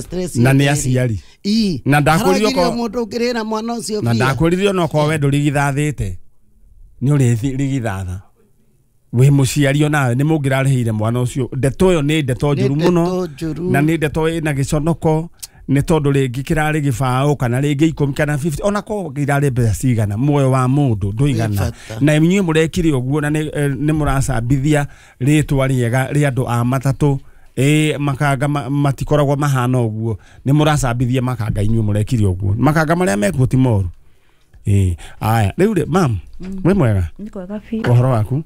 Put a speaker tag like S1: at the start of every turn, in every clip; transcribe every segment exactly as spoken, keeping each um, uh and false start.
S1: Stress.
S2: Na nĩ aciari.
S1: Ii.
S2: Na ndakwĩrire
S1: Haragirio
S2: okorwo-
S1: mũndũ ũngĩrĩra mwana ũcio
S2: na
S1: mbia.
S2: Ndakwĩrire onokorwo we ndũrigithathĩte, nĩ ũrĩrigithatha wĩ mũciari, onawe nĩ mũngĩrarĩhĩire mwana ũcio. Ndeto ĩyo nĩ ndeto
S1: Nĩ
S2: njũru mũno.
S1: Ndeto njũru.
S2: Na nĩ ndeto ĩna gĩconoko, nĩ tondũ rĩngĩ kĩrarĩ gĩbaũ kana rĩngĩ ikũmi kana mĩrongo ĩtano, ona korwo irarĩ mbeca cigana, muoyo wa mũndũ ndũigana.
S1: Wĩ bata.
S2: Na inyuĩ mũrekire ũguo na nĩ eh, nĩ mũracambithia rĩtwa rĩega rĩa andũ a matatũ. Ĩ makanga ma- matikoragwo mahana ũguo. Nĩ mũracambithia makanga inyuĩ mũrekire ũguo. Makanga marĩa mekuo ti moru. Ĩ aya, rĩu rĩ, mam, wĩ mwega?
S3: Nĩ kwega biũ.
S2: Ũhoro waku?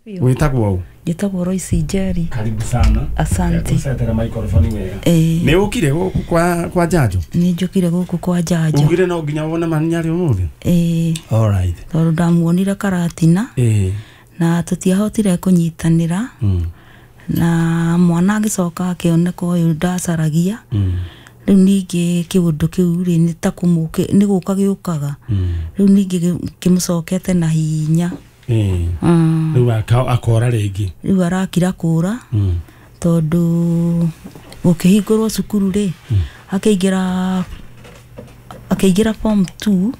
S3: Biũ.
S2: Wĩtagwo ũ?
S3: Njĩtagwo Royce Njeri.
S2: Karibu sana.
S3: Asante.
S2: Ũcetera microphone wega.
S3: Ĩĩ.
S2: Nĩ ũkire gũkũ kwa kwa Njanjo?
S3: Nĩ njũkire gũkũ kwa Njanjo.
S2: Ugire no nginya wone Maninyarĩ ũmũthĩ?
S3: Ĩĩ.
S2: Alright.
S3: Tondũ ndamuonire Karatina
S2: ĩĩ
S3: na tũtiahotire kũnyitanĩra,
S2: mm.
S3: na mwana agĩcoka akĩoneka ũyũ ndacaragia.
S2: Mm.
S3: Rĩu ningĩ kĩũndũ kĩu rĩ, nĩ ta kũmũkĩ nĩ gũka gĩũkaga.
S2: Mm.
S3: Rĩu ningĩ gĩ- kĩmũcokete na hinya.
S2: Ĩĩ
S3: Mm.
S2: Rĩu aka- akora rĩngĩ?
S3: Rĩu arakira kũra,
S2: Mm.
S3: tondũ gũkĩhingũrwo cukuru rĩ, akĩingĩra akĩingĩra form two,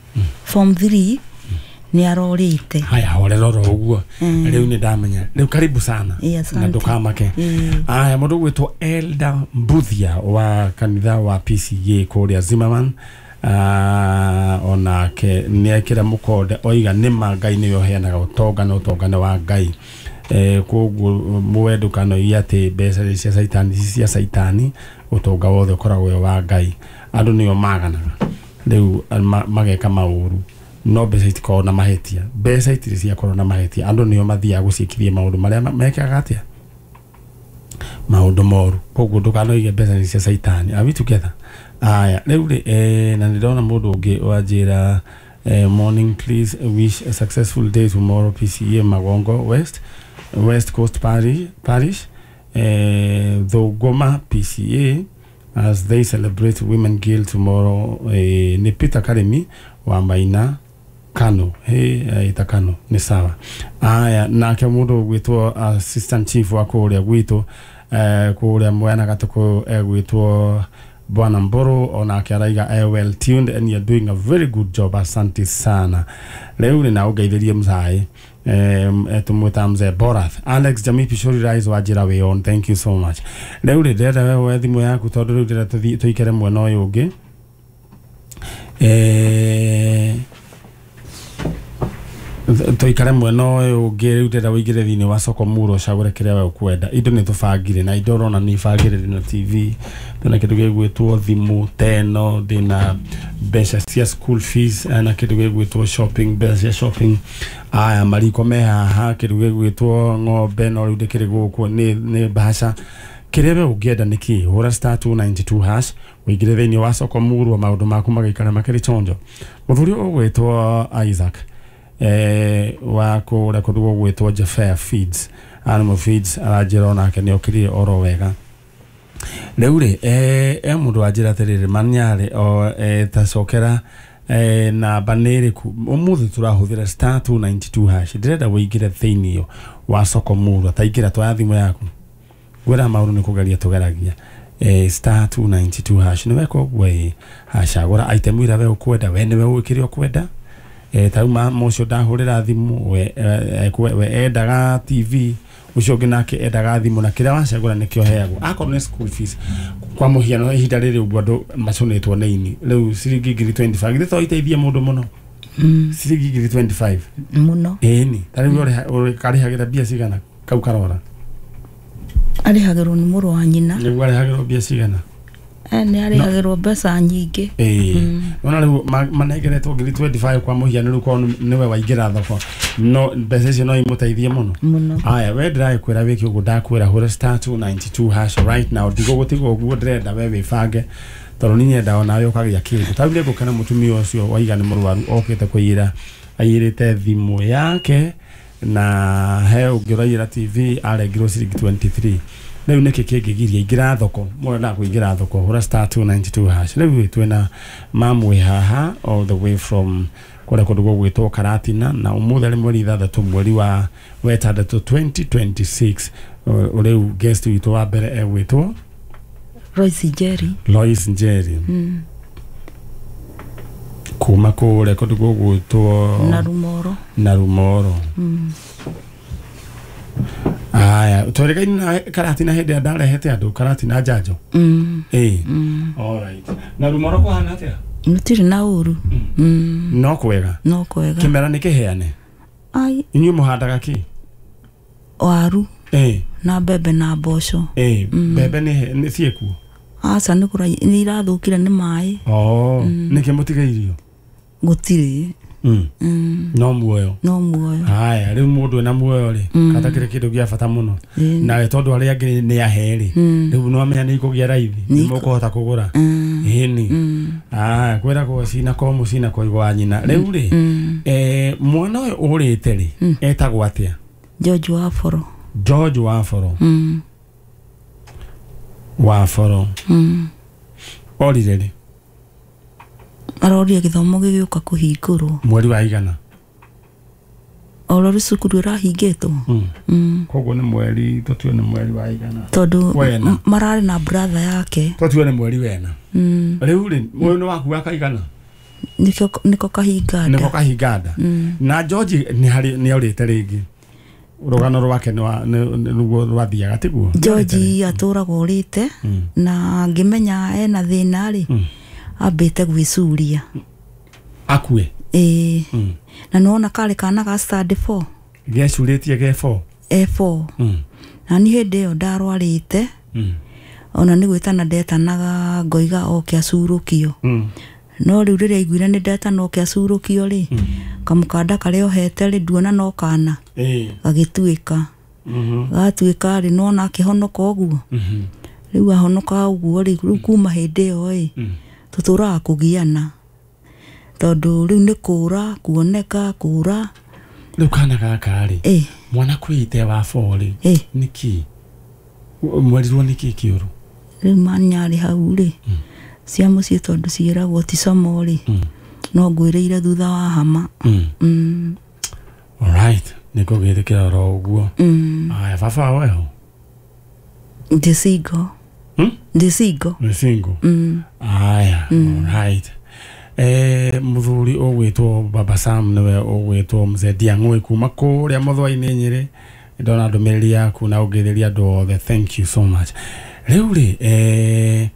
S3: form three, nĩ arorĩte.
S2: Haya, horera oro ũguo.
S3: Mm.
S2: Rĩu nĩ ndamenya. Rĩu karibu sana.
S3: Ĩĩ, asante.
S2: Na ndũkamake.
S3: Ĩĩ.
S2: Aya, mũndũ ũgwĩtwo Elda Mbuthia wa kanitha wa P C A kũrĩa Zimmerman, uh, onake nĩ ekĩra mũkonde, oiga nĩma Ngai nĩwe ũheanaga ũtonga na ũtonga nĩ wa Ngai. eh, koguo mũwe ndũkanoige atĩ mbeca nĩ cia caitani. Ci cia caitani, ũtonga wothe ũkoragwo wĩ wa Ngai. Andũ nĩo maganaga rĩu ma- mageka maũru, no mbeca itikoragwo na mahĩtia. Mbeca itirĩ ciakorwo na mahĩtia. Andũ nĩo mathiaga gũciĩkithia maũndũ marĩa ma- mekaga atĩa, maũndũ moru. Koguo ndũkanoige mbeca nĩ cia caitani. Are we together? Aya, rĩu rĩ, eh, na nĩndona mũndũ ũngĩ wanjĩra, eh, "Morning, please wish a successful day tomorrow, P C A Magongo West, West Coast Parish, Parish eh, Thũngũma P C A as they celebrate Women Guild tomorrow." eh, nĩ Peter Karimi wa Maina Kano. Hey, ita Kano nĩ sawa. Aya, nake mũndũ ũgwĩtwo assistant chief wa kũrĩa gwitũ, eh, kũrĩa mwena Gatũkũ, egwĩtwo Bwana Mboro, onake araiga eh, "Well tuned and you're doing a very good job." Asante sana. Rĩu rĩ, na ũngeithĩrie mzai, eh, tũmwĩta Mzee Borath Alex Jamii Pishori Rise wa njĩra wĩ on. Thank you so much. Rĩu rĩ, ndĩrenda we woe thimũ yaku, tondũ rĩu ndĩrenda tũthiĩ tũikare mwena ũyũ ũngĩ. eh, tũikare mwena ũyũ ũngĩ. Rĩu ndĩrenda ũingĩre thĩinĩ wa soko muro, ũcagũre kĩrĩa we ũkwenda. Indo nĩ tũbangire, na indo ũrona nĩ ibangire. Ndĩna T V, ndĩna kĩndũ gĩgwĩtwo thimũ teno, ndĩna mbeca cia school fees, eh, na kĩndũ gĩgwĩtwo shopping, mbeca cia shopping. Aya, mariko me haha, kĩndũ gĩgwĩtwo ng'ombe, no rĩu ndĩkĩrĩ gũkũ nĩ nĩ mbaca. Kĩrĩa we ũngĩenda nĩ kĩ? Hũra star two nine two hash, ũingĩre thĩinĩ wa soko murwa, maũndũ maku magaikara makĩrĩ chonjo. Mũthuri ũgwĩtwo Isaac eh, wa kũrĩa kũndũ gũgwĩtwo Jafea Feeds, Animal Feeds, aranjĩra onake nĩ okĩrire oro wega. Rĩu rĩ, eh, e mũndũ wanjĩra atĩrĩrĩ, "Manyarĩ o eh, tacokera eh, namba nĩ ĩrĩkũ ũmũthĩ tũrahũthĩra?" Star two nine two hash. Ndĩrenda ũingĩre thĩinĩ wa soko murwa. Taingĩra, twaya thimũ yaku, ngwĩra maũndũ nĩ kũgeria tũgeragia. eh, star two nine two hash, nĩ weka ũguo, ĩ hacagũra item ĩrĩa we ũkwenda. We nĩwe ũĩ kĩrĩa ũkwenda. eh, ta rĩu ma ũcio ndahũrĩra thimũ, we, eh, we, we endaga T V, ũcio ũngĩ nake endaga thimũ, na kĩrĩa wacagũra nĩkĩo heagwo. Akorwo nĩ school fees, kwa mũhiano, ihinda rĩrĩ ũguo andũ macũnĩtwo nĩ ini, rĩu ciringi ngiri mĩrongo ĩrĩ na ithano githĩ to iteithie mũndũ mũno?
S3: Mm,
S2: Ciringi ngiri mĩrongo ĩrĩ na ithano.
S3: Mũno.
S2: Ĩni ta rĩu ũrĩha- karĩhagĩra mbia cigana kau karora?
S3: Arĩhagĩrwo nĩ mũrũ wa nyina.
S2: Nĩguo, arĩhagĩrwo mbia cigana?
S3: Eh, nĩ arĩhagĩrwo mbeca nyingĩ.
S2: Ĩĩ, ona rĩu ma- manengeretwo ngiri mĩrongo ĩrĩ na ithano kwa mũhiano. Rĩu korwo nĩwe waingĩra thoko, no mbeca icio no imũteithie mũno.
S3: Mũno.
S2: Aya, we ndĩragĩkwĩra wĩke ũguo ndakwĩra, hũra star two nine two hash right now. Ndigũgũtiga ũguo, ndĩrenda we wĩbange, tondũ nĩ nyenda onawe ũkagĩa kĩndũ. Ta rĩu nĩngũkena mũtumia ũcio waiga nĩ mũrwaru, okĩte kũiyĩra, aiyĩrĩte thimũ yake, na he ũngĩ ũraiyĩra T V, arengirwo ciringi mĩrongo ĩrĩ na ithatũ. Rĩu nĩkĩ kĩngĩgiria? Ingĩra thoko, mũrendaga kũingĩra thoko, hũra star two nine two hash. Rĩu twĩna mamwe haha all the way from kũrĩa kũndũ gũgwĩtwo Karatina, na ũmũthĩ arĩ mweri ithathatũ, mweri wa wetandatũ, twenty twenty-six. Rĩu guest witũ wa mbere egwĩtwo?
S3: Lois Njeri.
S2: Lois Njeri.
S3: Mm.
S2: Kuma kũrĩa kũndũ gũgwĩtwo
S3: Narumoro.
S2: Narumoro.
S3: Mm.
S2: Aya, twerĩkaine na Karatina hĩndĩ ĩrĩa ndarehete andũ Karatina njanjo.
S3: Mm.
S2: Ĩĩ.
S3: Mm.
S2: Alright. Narumoro kũhana atĩa?
S3: Gũtirĩ na ũru. Mm.
S2: No kwega.
S3: No kwega.
S2: Kĩmera nĩ kĩheane.
S3: Ai.
S2: Inyuĩ mũhandaga kĩ?
S3: Waru.
S2: Ĩĩ.
S3: Na mbembe na mboco.
S2: Ĩĩ, mbembe nĩ nĩ ciĩkuo?
S3: Aca nĩ kũra nĩ irathũkire nĩ maĩ.
S2: Oh, nĩkĩ mũtigairio?
S3: Gũtirĩ.
S2: Mm.
S3: Mm.
S2: No muoyo.
S3: No muoyo.
S2: Haya, rĩu mũndũ ena muoyo rĩ, katakĩrĩ kĩndũ gĩa bata mũno.
S3: Mm.
S2: Nawe tondũ arĩa angĩ nĩ ahe rĩ, rĩu no amenya nĩ ikũgĩa raithi, nĩ mũkũhota kũgũra. Ĩni. Ah, kwĩragwo cina ko mũcina ko igwa nyina. Rĩu rĩ, eh mwana ũyũ ũrĩte rĩ, etagwo atĩa?
S3: George Waforo.
S2: George Waforo.
S3: Mm.
S2: Waforo.
S3: Mm.
S2: Orire rĩ?
S3: Aroria gĩthomo gĩgĩũka kũhingũrwo.
S2: Mweri wa igana?
S3: Oro cukuru ĩrahingĩtwo.
S2: Mm.
S3: Mm.
S2: Koguo nĩ mweri, tũtue nĩ mweri wa igana.
S3: Tondũ
S2: Wena.
S3: mararĩ na brother yake.
S2: Tũtue nĩ mweri wena.
S3: Mm.
S2: Rĩu rĩ, ũyũ nĩ waku wa kaigana?
S3: Nĩkĩo nĩko kahinga nda.
S2: Nĩko kahinga nda.
S3: Mm.
S2: Na George nĩ harĩ nĩ orĩte rĩngĩ. Rũgano rwake nĩ nĩguo rwathiaga tiguo?
S3: George atũraga orĩte na ngĩmenya ena thĩna rĩ, ambĩte gwĩcuria.
S2: Akue?
S3: Ĩĩ. Na nĩwona karĩ kana ga standard four.
S2: Gecurĩtie ge four?
S3: E four. Na niĩ hĩndĩ ĩyo ndarwarĩte. Ona nĩ gwĩtana ndetanaga ngoiga oke acurũkio. No rĩu rĩrĩa aiguire nĩ ndetana oke acurũkio rĩ, kamũkanda karĩa ohete rĩ nduona no kana. Gagĩtuĩka. Gatuĩka rĩ nĩwona akĩhonoka ũguo. Rĩu ahonoka ũguo rĩ, rĩu kuma hĩndĩ ĩyo ĩ, tũtũraga kũgiana. Tondũ rĩu nĩ kũra, kuoneka, kũra.
S2: Rĩu kana gaka rĩ, mwana kwĩite wa four rĩ, nĩkĩ? Mwerirwo nĩkĩ kĩũru?
S3: Rĩu manyarĩ hau rĩ, cia mũciĩ tondũ ciĩragwo ti como rĩ, no ngwĩrĩire thutha wa hama.
S2: Alright, nĩngũgĩtĩkĩra oro ũguo. Aya, baba wao eho?
S3: Ndĩ single. Ndĩ single.
S2: Ndĩ single? Aya, alright. Eh, mũthuri ũgwĩtwo Baba Sam nĩwe ũgwĩtwo Mzee Ndiang'ũĩ kuma kũrĩa Mũthũa-inĩ Nyĩrĩ. Ndona ndũmĩrĩri yaku na ũngĩthĩria andũ othe, thank you so much. Rĩu rĩ, eh,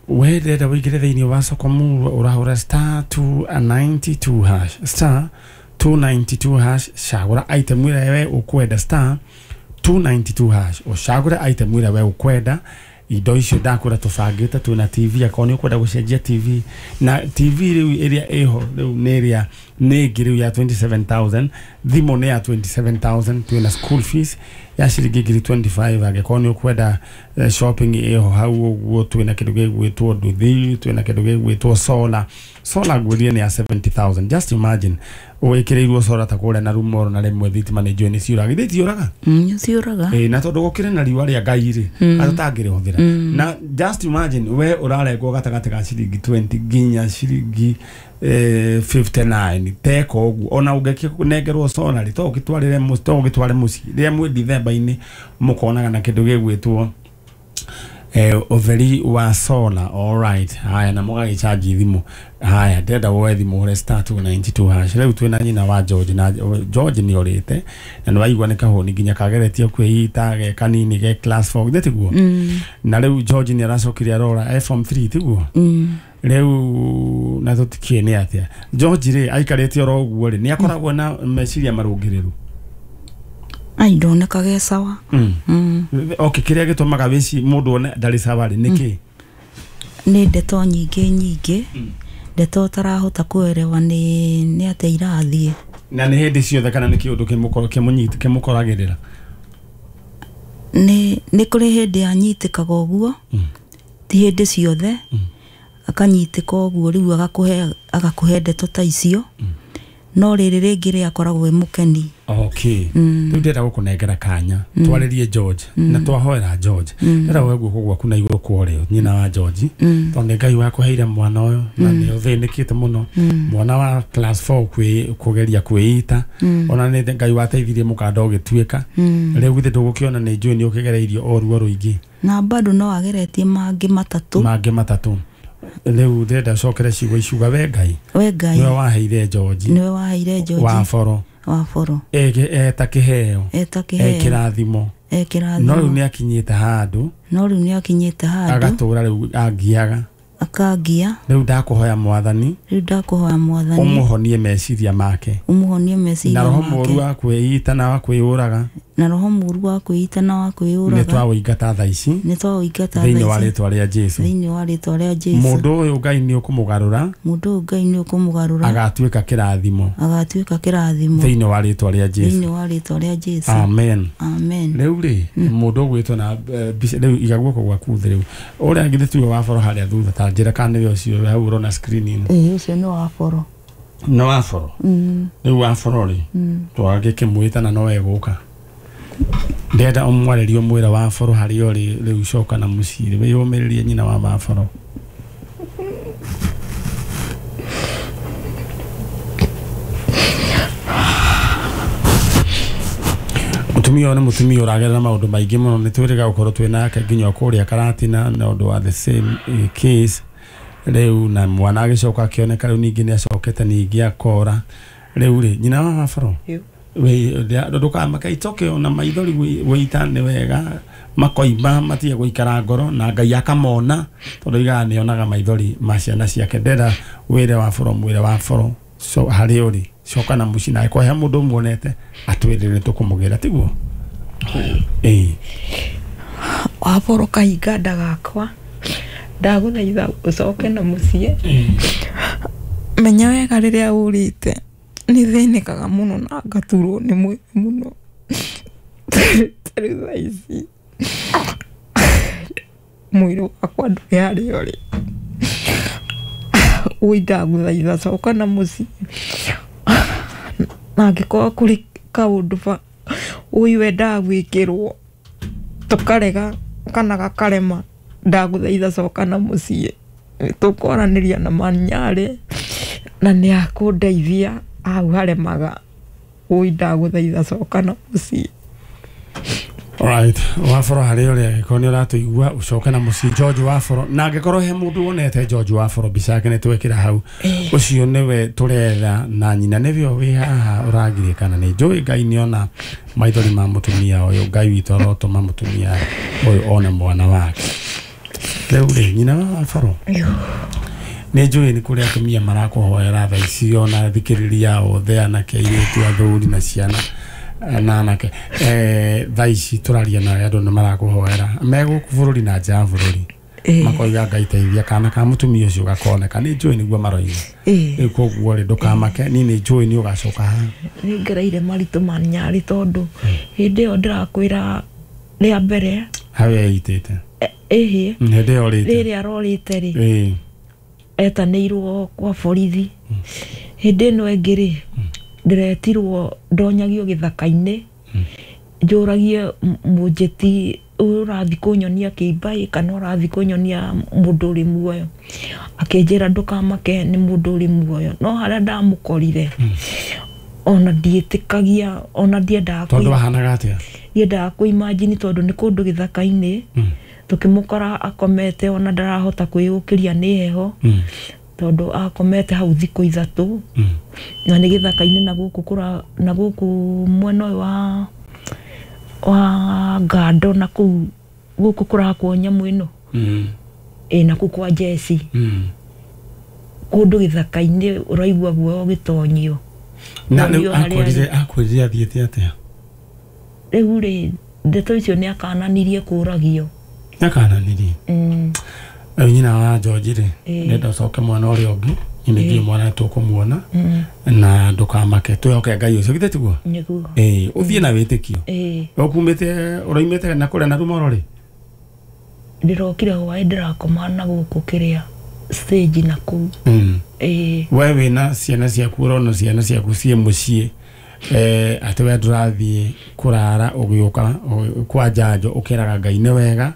S2: we ndĩrenda wĩingĩre thĩinĩ wa soko murwa ũrahũra star two ninety two hash, star two ninety two hash, cagũra item ĩrĩa we ũkwenda, star two ninety two hash, ũcagũre item ĩrĩa we ũkwenda. Indo icio ndakũra tũbangĩte twĩna T V, akorwo nĩ ũkwenda gũcenjia T V, na T V rĩu ĩrĩa ĩho rĩu nĩ ĩrĩa nĩ ĩngĩ rĩu ya twenty seven thousand, thimũ nĩ ya twenty seven thousand, twĩna school fees ya ciringi ngiri twenty five, angĩkorwo nĩ ũkwenda shopping ĩho hau ũguo, twĩna kĩndũ gĩgwĩtwo nduthi, twĩna kĩndũ gĩgwĩtwo solar. Solar ngwĩrire nĩ ya seventy thousand, just imagine wĩkĩrĩirwo solar ta kũrĩa Narumoro na rĩmwe thitima nĩ njũĩ nĩ ciũraga, githĩ itiũraga?
S3: Nĩ ciũraga.
S2: Ĩĩ, na tondũ gũkĩrĩ na riũa rĩa Ngai rĩ, atũtangĩrĩhũthĩra. Na just imagine we ũrarengwo gatagatĩ ka ciringi twenty nginya ciringi fifty nine teka ũguo, ona ũngĩnengerwo solar rĩ, to ũgĩtwarĩre mũciĩ, to ũgĩtware mũciĩ rĩrĩa mwĩ Dithemba-inĩ mũkonaga na kĩndũ gĩgwĩtwo eh ũtheri wa solar. Alright, haya, na mũgagĩchanji thimũ. Haya, ndĩrenda woe thimũ ũhũre star two ninety two hash. Rĩu twĩna nyina wa George, na George nĩ orĩte na nĩ waigua nĩ kahũni nginya kageretie kwĩita ge kanini ge class four, githĩ tiguo? Na rĩu George nĩ aracokire arora e form three, tiguo? Rĩu na tũtikĩĩ nĩ atĩa George rĩ aikarĩte oro ũguo rĩ, nĩ akoragwo na meciria marũngĩrĩru?
S3: Ai, ndonekaga e sawa.
S2: Okay, kĩrĩa gĩtũmaga wĩci mũndũ one ndarĩ sawa rĩ nĩkĩ?
S3: Nĩ ndeto nyingĩ nyingĩ, ndeto ũtarahota kũerewa nĩ nĩ atĩa irathiĩ.
S2: Na nĩ hĩndĩ ciothe kana nĩ kĩũndũ kĩmũnyitĩ kĩmũkoragĩrĩra?
S3: Nĩ nĩ kũrĩ hĩndĩ anyitĩkaga ũguo, ti hĩndĩ ciothe, akanyitĩka ũguo rĩu agakũhe agakũhe ndeto ta icio. No rĩrĩ rĩngĩ rĩakoragwo e mũkeni.
S2: Okay. Rĩu ndĩrenda gũkũnengera kanya twarĩrie George na twahoera George. Ndĩrenda woe guoko gwaku na igũrũ kwa ũrĩo nyina wa George, tondũ nĩ Ngai wakũheire mwana ũyũ na nĩ ũthĩnĩkĩte mũno, mwana wa class four kwĩ kũgeria kwĩita, ona nĩ Ngai wateithirie mũkanda ũgĩtuĩka. Rĩu githĩ ndũgũkĩona nĩ njũĩ nĩ ũkĩgereirio o ruo rũingĩ
S3: na bado no ageretie mangĩ matatũ
S2: mangĩ matatũ. Rĩu ndĩrenda ũcokere ciugo ici uga we Ngai,
S3: we Ngai
S2: nĩwe waheire George,
S3: nĩwe waheire George
S2: wa boro
S3: wa boro
S2: eta kĩheo
S3: eta kĩheo
S2: ekĩrathimo
S3: e kĩrathimo,
S2: no rĩu nĩ akinyĩte handũ
S3: no rĩu nĩ akinyĩte handũ
S2: agatũra rĩu angiaga
S3: akangia.
S2: Rĩu ndakũhoya Mwathani,
S3: rĩu ndakũhoya Mwathani
S2: ũmũhonie meciria make,
S3: ũmũhonie meciria
S2: na roho
S3: make,
S2: mũru wa kwĩita na wa kwĩyũraga,
S3: na roho mũru wa kwĩita na wa kwĩyũraga
S2: nĩ twaũingata thaa ici
S3: nĩ twaũingata
S2: thĩinĩ wa rĩtwa rĩa Jesũ,
S3: thĩinĩ wa rĩtwa rĩa Jesũ.
S2: Mũndũ ũyũ Ngai nĩ ũkũmũgarũra,
S3: mũndũ ũyũ Ngai nĩ ũkũmũgarũra
S2: agatuĩka kĩrathimo,
S3: agatuĩka kĩrathimo
S2: thĩinĩ wa rĩtwa rĩa Jesũ,
S3: thĩinĩ wa rĩtwa rĩa Jesũ.
S2: Amen.
S3: Amen.
S2: Rĩu rĩ mũndũ ũgwĩtwo na mbica rĩu iga guoko gwaku thĩ rĩu ũrĩa githĩ tiwe wa boro harĩa thutha ta njĩra kana nĩwe ũcio hau ũrona screen-inĩ?
S3: Ĩĩ ũcio nĩ wa boro.
S2: Nĩ wa boro? Rĩu wa boro rĩ twagĩkĩmwĩta na no egũka. Ndĩrenda ũmwarĩrie ũmwĩre wa boro harĩa ũrĩ rĩu coka na mũciĩ wĩyũmĩrĩrie nyina wa wa boro. Mũtumia ũyũ nĩ mũtumia ũragerera maũndũ maingĩ mũno, nĩ twĩrĩga gũkorwo twĩ nake nginya kũrĩa Karatina na ũndũ wa the same case rĩu, na mwana agĩcoka akĩoneka rĩu ningĩ nĩ acokete ningĩ akora. Rĩu rĩ nyina wa wa boro ndũkamake itoke ona maithori wĩita nĩ wega makoima matige gũikara ngoro na Ngai akamona tondũ igaga nĩ onaga maithori ma ciana ciake. Ndĩrenda wĩre wa boro mwĩre wa boro so harĩa ũrĩ coka na mũciĩ na angĩkorwo he mũndũ ũmuonete atwĩrĩre tũkũmũgĩra tiguo? Ĩĩ
S1: wa boro kahinga nda gakwa ndagũthaitha ũcoke na mũciĩ. Menya wega rĩrĩa ũrĩte nĩ thĩnĩkaga mũno na ngaturwo nĩ mwĩrĩ mũno. Ta rĩu thaa ici mwĩrĩ wakwa ndũrĩ harĩa ũrĩ. Ũi ndagũthaitha coka na mũciĩ, na angĩkorwo kũrĩ kaũndũ ba ũi wendaga gwĩkĩrwo tũkarega kana gakarema, ndagũthaitha coka na mũciĩ tũkwaranĩria na Manyarĩ na nĩ akũndeithia hau haremaga. Ũi ndagũthaitha coka na mũciĩ.
S2: Alright, wa boro harĩa ũrĩ angĩkorwo nĩ ũratũigua ũcoke na mũciĩ George wa boro, na angĩkorwo he mũndũ wonete George wa boro mbica yake nĩ twekĩra hau, ũcio nĩwe tũretha na nyina nĩwe wĩ haha ũragirĩkana. Nĩ njũĩ Ngai nĩona maithori ma mũtumia ũyũ, Ngai witũ arotũma mũtumia ũyũ one mwana wake. Rĩu rĩ nyina wa boro nĩ njũĩ nĩ kũrĩ atumia marakũhoera thaa ici ona thikĩrĩria othe anake airĩtu athuri na ciana na anake eh thaa ici tũraria nawe andũ nĩ marakũhoera me gũkũ bũrũri na nja ya bũrũri makoiga Ngai teithia kana ka mũtumia ũcio gakoneka. Nĩ njũĩ nĩguo maroiga. Rĩu koguo rĩ ndũkamake, niĩ nĩ njũĩ nĩ ũgacoka haha.
S1: Nĩ ngereire maritũ Manyarĩ tondũ hĩndĩ ĩyo ndĩrakwĩra rĩa mbere
S2: hau eitĩte
S1: ĩhĩ
S2: hĩndĩ ĩyo rĩte
S1: rĩrĩa arorĩte rĩ etanĩirwo kwa borithi. Hĩndĩ ĩno ĩngĩ rĩ ndĩretirwo ndonyagio gĩthaka-inĩ njũragie mũnjĩti ũrathiĩ kũnyonia kĩimba kana ũrathiĩ kũnyonia mũndũ ũrĩ muoyo, akĩnjĩra ndũkamake nĩ mũndũ ũrĩ muoyo. No harĩa ndamũkorire ona ndiĩtĩkagia ona ndiendaga
S2: tondũ wahanaga atĩa?
S1: Ndiendaga kũ-imagine tondũ nĩ kũndũ gĩthaka-inĩ tũkĩmũkora akomete ona ndarahota kwĩyũkĩria nĩ heho tondũ akomete hau thikũ ithatũ na nĩ gĩthaka-inĩ na gũkũ kũra na gũkũ mwena ũyũ wa wa ngando na kũu gũkũ kũrakwo nyamũ ĩno ĩ na kũu kwa jeci kũndũ gĩthaka-inĩ ũraigua guoya ũgĩtonyio.
S2: Na rĩu akwĩrire akwĩrire athiĩte atĩa?
S1: Rĩu rĩ ndeto icio nĩ akananirie kũragio.
S2: Nĩ akananirie? Rĩu nyina wa George rĩ ndĩrenda ũcoke mwena ũrĩa ũngĩ nĩ ndiũĩ mwana tũkũmuona na ndũkamake twĩhoke Ngai ũcio githĩ tiguo?
S1: Nĩguo.
S2: Ĩĩ ũthiĩ na wĩtĩkio. Ũkumĩte ũraimĩte na kũrĩa na Rumoro rĩ?
S1: Ndĩrokire hwaĩ ndĩrakoma na gũkũ kĩrĩa stage na kũu.
S2: Mm.
S1: Ĩĩ.
S2: We wĩna ciana ciaku, ũrona ciana ciaku ciĩ mũciĩ, eh, atĩ we ndũrathiĩ kũrara ũgĩũka ũ- kwa njanjo, ũkeraga Ngai nĩ wega,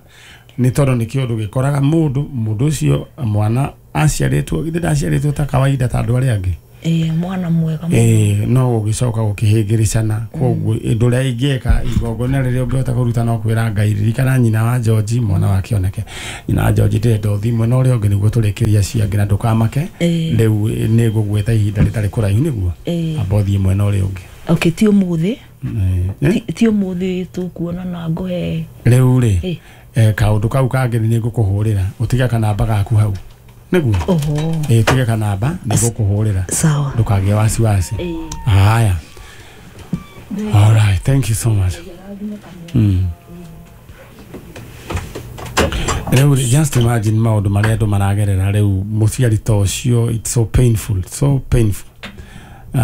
S2: nĩ tondũ nĩ kĩũndũ gĩkoraga mũndũ mũndũ ũcio mwana aciarĩtwo, githĩ ndaciarĩtwo ta kawaida ta andũ arĩa angĩ?
S1: Ĩĩ, mwana mwega mũno.
S2: Ĩĩ, no gũgĩcoka gũkĩhĩngĩrĩcana. Koguo ũndũ ũrĩa ingĩka, igongona rĩrĩa ũngĩhota kũruta no kwĩra Ngai, ririkana nyina wa George, mwana wake oneke. Nyina wa George, ndĩrenda ũthiĩ mwena ũrĩa ũngĩ nĩguo tũrĩkĩrie acio angĩ, na ndũkamake.
S1: Ĩĩ.
S2: Rĩu nĩ ngũgwĩta ihinda rĩtarĩ kũraihu nĩguo
S1: Ĩĩ.
S2: amba ũthiĩ mwena ũrĩa ũngĩ.
S1: Okay, ti ũmũthĩ.
S2: Ĩĩ.
S1: Ti- ti ũmũthĩ tũkuonana ngũhe.
S2: Rĩu rĩ,
S1: Ĩĩ.
S2: eh, kaũndũ kau kangĩ nĩ ngũkũhũrĩra, ũtige kanamba gaku hau nĩguo.
S1: Oho.
S2: Ĩĩ, ũtige kanamba, nĩ ngũkũhũrĩra.
S3: Sawa.
S2: Ndũkagĩe wasiwasi.
S1: Ĩĩ.
S2: Haya. All right, thank you so much. Mm. Rĩu rĩ, just imagine maũndũ marĩa andũ maragerera rĩu, mũciari ta ũcio, it's so painful, so painful. Uh,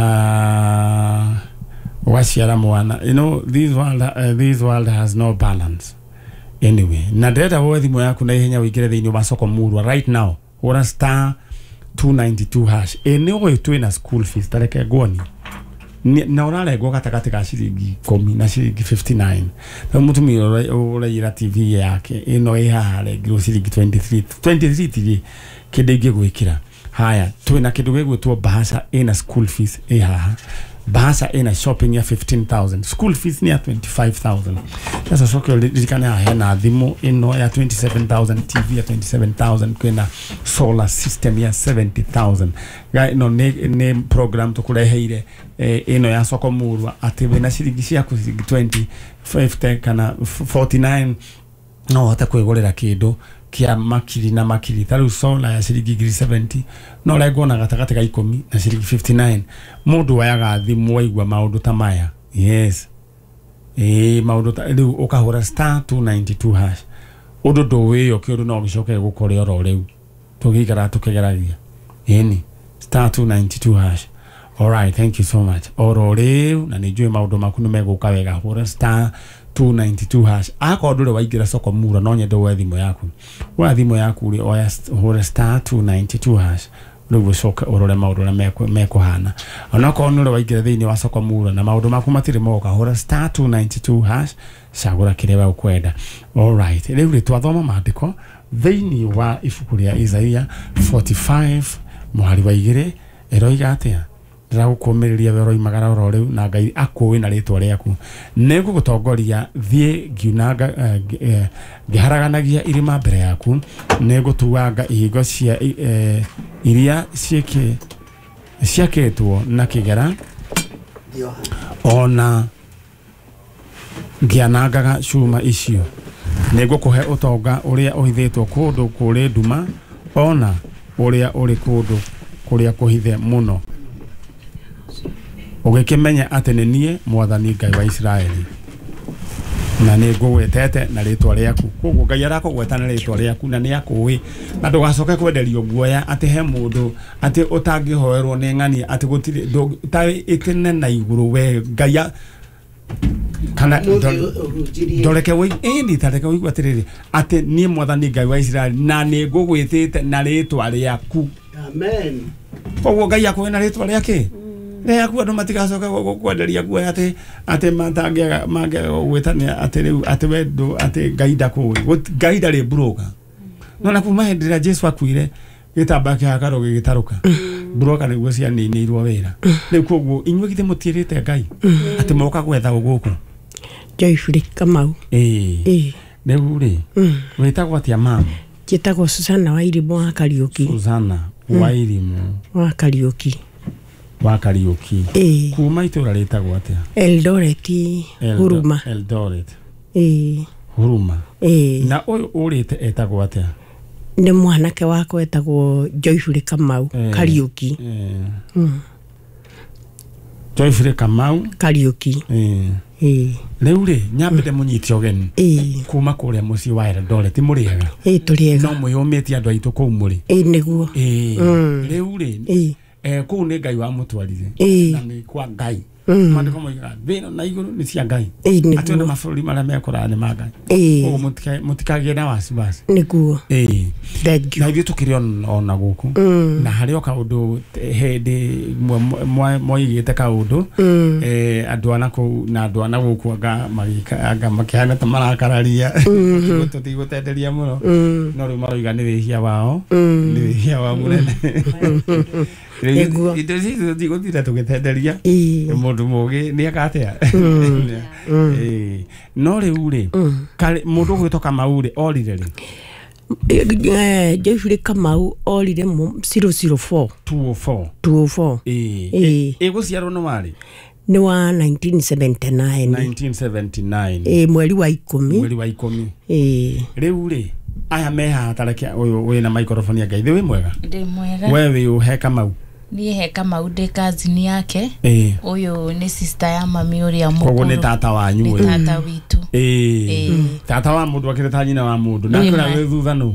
S2: ũgaciara mwana, you know, this world, uh, this world has no balance. Anyway, na ndĩrenda woe thimũ yaku na ihenya ũingĩre thĩinĩ wa soko murwa right now. Hũra star two ninety-two hash. Ĩ nĩ ũĩ twĩna school fees, tareke nguonie. Nĩ- na ũrarengwo gatagatĩ ka ciringi ikũmi na ciringi fifty-nine. Rĩu mũtumia ũrĩa ũraiyĩra T V yake ĩno ĩ haha arengirwo ciringi twenty-three. twenty-three tirĩ kĩndũ ingĩgwĩkĩra. Haya, twĩna kĩndũ gĩgwĩtwo bahasha ĩna school fees ĩ haha. Bahasha ĩna shopping ya fifteen thousand. School fees ni ya twenty-five thousand. Sasa coke ririkane haha hena thimũ ĩno ya twenty-seven thousand, T V ya twenty-seven thousand, kwĩna solar system ya seventy thousand. Ga ĩno nĩ, nĩ program tũkũreheire, eh, ĩno ya soko murwa, atĩ wĩna ciringi ciaku ciringi twenty, fifty kana forty-nine no ũhote kwĩgũrĩra kĩndũ kĩa makiri na makiri. Ta rĩu solar ya ciringi ngiri seventy no ũrengwo na gatagatĩ ka ikũmi na ciringi fifty-nine. Mũndũ woyaga thimũ waigua maũndũ ta maya. Yes. Ĩĩ, maũndũ ta rĩu ũkahũra star two ninety-two hash. Ũndũ ndũwĩyo kĩũndũ no gĩcoke gũkore oro rĩu. Tũgĩikara tũkĩgeragia. Ĩni, star two ninety-two hash. All right, thank you so much. Oro rĩu na nĩ njũĩ maũndũ maku nĩ megũka wega. Hũra star two ninety-two hash. Akorwo ndũrĩ waingĩra soko mura, no nyende woe thimũ yaku. Woya thimũ yaku rĩ, oya st-, hũra star two ninety-two hash. Rĩu ũcoke ũrore maũndũ ũrĩa mekũ-, mekũhana. Onokorwo nĩ ũrĩ waingĩra thĩinĩ wa soko mura na maũndũ maku matirĩ moka, hũra star two ninety-two hash, cagũra kĩrĩa we ũkwenda. All right, rĩu rĩ twathoma maandĩko thĩinĩ wa ibuku rĩa Isaia forty-five mũhari wa igĩrĩ ĩroiga atĩa? Ndĩragũkũmĩrĩria we ũroimagara oro rĩu na Ngai akũĩ na rĩtwa rĩaku. Nĩngũgũtongoria thiĩ ngiunanga, eh, eh, ngĩharaganagia irĩma mbere yaku, nĩngũtuanga ihingo cia, eh, iria ciĩkĩ-, ciakĩtwo na kĩgera, ona ngĩanangaga cuma icio. Nĩngũkũhe ũtonga ũrĩa ũhithĩtwo kũndũ kũrĩ nduma, ona ũrĩa ũrĩ kũndũ kũrĩa kũhithe mũno, ũgĩkĩmenya atĩ nĩ niĩ Mwathani Ngai wa Isiraeli, na nĩ ngũgwetete na rĩtwa rĩaku. Koguo Ngai arakũgweta na rĩtwa rĩaku na nĩ akũĩ, na ndũgacoke kwenderio guoya atĩ he mũndũ atĩ ũtangĩhoerwo nĩ ng'ania, atĩ gũtirĩ ndũ-, ta ĩtene na igũrũ we Ngai a-, kana ndoreke wĩ-, ĩni, ta reke ũigue atĩrĩrĩ, atĩ niĩ Mwathani Ngai wa Isiraeli na nĩ ngũgwĩtĩte na rĩtwa rĩaku.
S4: Amen.
S2: Koguo Ngai akũĩ na rĩtwa rĩake. Rĩaku andũ matigacoke gũkwenderia guoya atĩ, atĩ matangĩaga, mangĩaga gũgwĩtania atĩ rĩu, atĩ we ndũ, atĩ Ngai ndakũĩ. Gũti-, Ngai ndarĩ mburũka. No na kuma hĩndĩ ĩrĩa Jesũ akuire, gĩtambaya kĩa hekarũ gĩgĩtarũka. Mburũka nĩguo cianinĩirwo wĩra. Rĩu koguo inyuĩ githĩ mũtiĩrĩte Ngai atĩ moka gwetha gũkũ?
S4: Joyfrey Kamau.
S2: Ĩĩ.
S4: Ĩĩ.
S2: Rĩu rĩ, wĩtagwo atĩa mama?
S4: Njĩtagwo Susana Wairimũ wa Kariũki.
S2: Susana Wairimũ
S4: wa Kariũki.
S2: Wa Kariũki.
S4: Ĩĩ.
S2: Kuma itũra rĩtagwo atĩa?
S4: Eldoret,
S2: Eldo-
S4: Huruma.
S2: Eldoret.
S4: Ĩĩ.
S2: Huruma.
S4: Ĩĩ.
S2: Na ũyũ ũrĩte etagwo atĩa?
S4: Nĩ mwanake wakwa etagwo Joyfrey Kamau,
S2: Ĩĩ.
S4: Kariũki.
S2: Ĩĩ.
S4: Mm.
S2: Joyfrey Kamau.
S4: Kariũki.
S2: Ĩĩ.
S4: Ĩĩ.
S2: Rĩu rĩ, nyambe ndĩmũnyite ũgeni.
S4: Ĩĩ.
S2: Kuma kũrĩa mũciĩ wa Eldoret, mũrĩega?
S4: Ĩĩ, tũrĩega.
S2: No mwĩyũmĩtie andũ aitũ kũu mũrĩ?
S4: Ĩĩ, nĩguo.
S2: Ĩĩ.
S4: Mm.
S2: Rĩu rĩ,
S4: Ĩĩ.
S2: eh, kũu nĩ Ngai wamũtwarire.
S4: Ĩĩ.
S2: Na nĩ kwa Ngai. Maandĩko moigaga thĩ ĩno na igũrũ nĩ cia Ngai. Atĩ ona mabũrũri marĩa mekũraya nĩ ma Ngai. Koguo mũtika- mũtikagĩe na wasiwasi.
S4: Nĩguo.
S2: Ĩĩ.
S4: Thank you.
S2: Na ithuĩ tũkĩrĩ on- ona gũkũ na harĩ o kaũndũ hĩndĩ ĩmwe mwoigĩte kaũndũ eh, andũ a nakũu na andũ a na gũkũ anga magĩka anga makĩhana ta marakararia tũtigũtenderia mũno no rĩu maroiga nĩ wĩhia wao nĩ wĩhia wao mũnene.
S4: Nĩguo.
S2: Indo ici tũtigũtinda tũgĩtenderia
S4: Ĩĩ.
S2: mũndũ mũgĩ nĩ eka atĩa. Ĩĩ. No rĩu rĩ karĩ- mũndũ ũgwĩtwo Kamau rĩ orire rĩ?
S4: Eh, Joyfrey Kamau orire mu zero zero four.
S2: two oh four.
S4: two oh four.
S2: Ĩĩ.
S4: Ĩĩ.
S2: Ĩgũciarwo nĩ warĩ
S4: Nĩ wa nineteen seventy-nine.
S2: nineteen seventy-nine.
S4: Ĩĩ, mweri wa ikũmi.
S2: Mweri wa ikũmi.
S4: Ĩĩ.
S2: Rĩu rĩ aya me haha tareke ũyũ wĩna microphone ya Ngai thĩ wĩ mwega?
S5: Ndĩ mwega.
S2: We wĩ ũ he Kamau?
S5: Niĩ he Kamau ndĩ cousin yake.
S2: Ĩĩ.
S5: Ũyũ nĩ sister ya mami ũrĩa mũkũrũ.
S2: Koguo nĩ tata wanyu
S5: Nĩ
S2: ũyũ.
S5: tata witũ.
S2: Ĩĩ.
S5: Ĩĩ.
S2: Tata wa mũndũ akĩrĩ ta nyina wa mũndũ. Nake
S5: Nĩ
S2: ũrĩa
S5: ma.
S2: wĩ thutha nũ?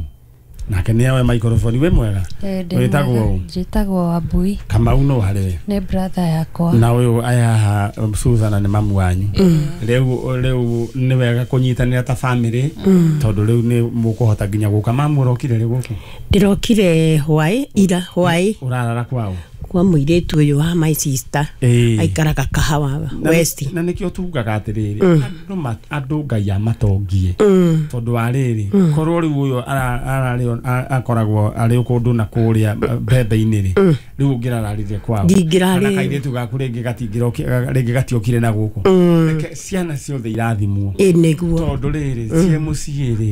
S2: Nake nĩ oe microphone. Wĩ mwega? Wĩtagwo ũ?
S6: Njĩtagwo Wambui.
S2: Kamau nũ harĩ we?
S6: Nĩ brother yakwa.
S2: Na ũyũ aya haha Susan nĩ mamu wanyu. Rĩu rĩu nĩ wega kũnyitanĩra ta family tondũ rĩu nĩ mũkũhota nginya gũka. Mamu ũrokire rĩ gũkũ?
S4: Ndĩrokire hwaĩ ira hwaĩ.
S2: Ũrarara kwao?
S4: Kwa mũirĩtu ũyũ wa my sister.
S2: Ĩĩ.
S4: Aikaraga Kahawa
S2: Na-
S4: West.
S2: Na nĩkĩo tugaga atĩrĩrĩ andũ ma- andũ Ngai amatongie tondũ wa rĩrĩ korwo rĩu ũyũ ara- ararĩ a- akoragwo arĩ kũndũ na kũrĩa mbembe-inĩ rĩ rĩu ũngĩrararire kwao.
S4: Ndingĩrarĩ.
S2: Kana kairĩtu gaku rĩngĩ gatingĩroki- rĩngĩ gatiokire na gũkũ. Reke ciana ciothe irathimwo.
S4: Ĩĩ nĩguo.
S2: Tondũ rĩrĩ ciĩ mũciĩ rĩ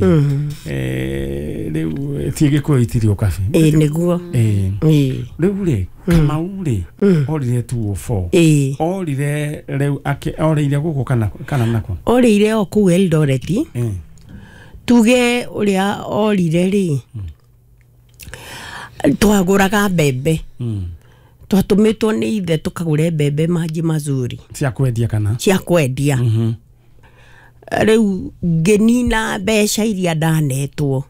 S2: eh, rĩu ti Gĩkũyũ itirĩ ũkabi.
S4: Ĩĩ nĩguo.
S2: Ĩĩ.
S4: Ĩĩ.
S2: Rĩu rĩ Kamau rĩ orire two oh four.
S4: Ĩĩ.
S2: Orire rĩu akĩ orĩire gũkũ kana kana nako?
S4: Orĩire o kũu Eldoret.
S2: Ĩĩ.
S4: Tuge ũrĩa orire rĩ twagũraga mbembe. Twatũmĩtwo nĩ ithe tũkagũre mbembe Maji Mazuri.
S2: Cia kwendia kana?
S4: Cia kwendia. Rĩu ngĩnina mbeca iria ndanetwo.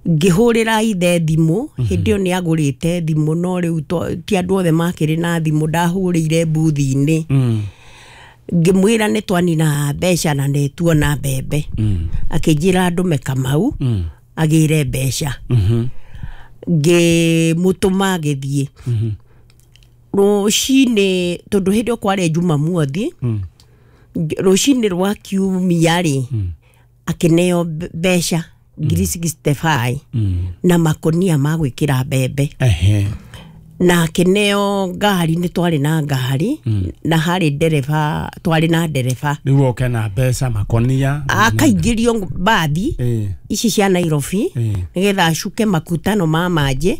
S4: Ngĩhũrĩra ithe thimũ hĩndĩ ĩyo nĩ agũrĩte thimũ no rĩu ti andũ othe makĩrĩ na thimũ ndahũrĩire mbuthi-inĩ. Ngĩmwĩra nĩ twanina mbeca na nĩ tuona mbembe. Akĩnjĩra ndũme Kamau agĩre mbeca. Ngĩmũtũma agĩthiĩ. Rũcinĩ tondũ hĩndĩ ĩyo kwarĩ Jumamothi rũcinĩ rwa Kiumia rĩ akĩneo mbeca ngiri sixty-five na makonia ma gwĩkĩra mbembe.
S2: Ehe.
S4: Na akĩneo ngari nĩ twarĩ na ngari na harĩ ndereba twarĩ na ndereba.
S2: Rĩu oke na mbeca makonia
S4: akaingĩrio mbathi ici cia Nairobi nĩgetha acuke makutano ma manjĩ